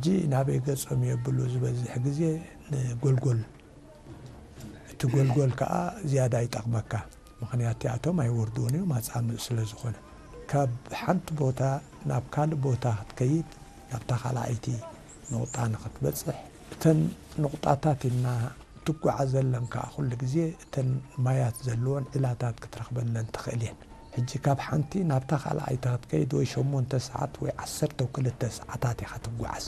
ሕጂ ናበይ ገጾም የብሉ ዝበዝሕ ግዜ ንጎልጎል። እቲ ጎልጎል ከዓ ዝያዳ ይጠቕመካ። ምኽንያት እቲኣቶም ኣይወርድውን እዮም፣ ኣጻምእ ስለ ዝኾነ። ካብ ሓንቲ ቦታ ናብ ካልእ ቦታ ክትከይድ፣ ናብታ ካልኣይቲ ንቑጣ ንኽትበጽሕ፣ እተን ንቑጣታት ኢልና ትጓዓዘለን ከዓ ኩሉ ግዜ እተን ማያት ዘለወን ዒላታት ክትረኽበለን ትኽእል እየን። ሕጂ ካብ ሓንቲ ናብታ ካልኣይቲ ክትከይድ ወይ ሸሞንተ ሰዓት ወይ ዓሰርተ ክልተ ሰዓታት ኢኻ ትጓዓዝ።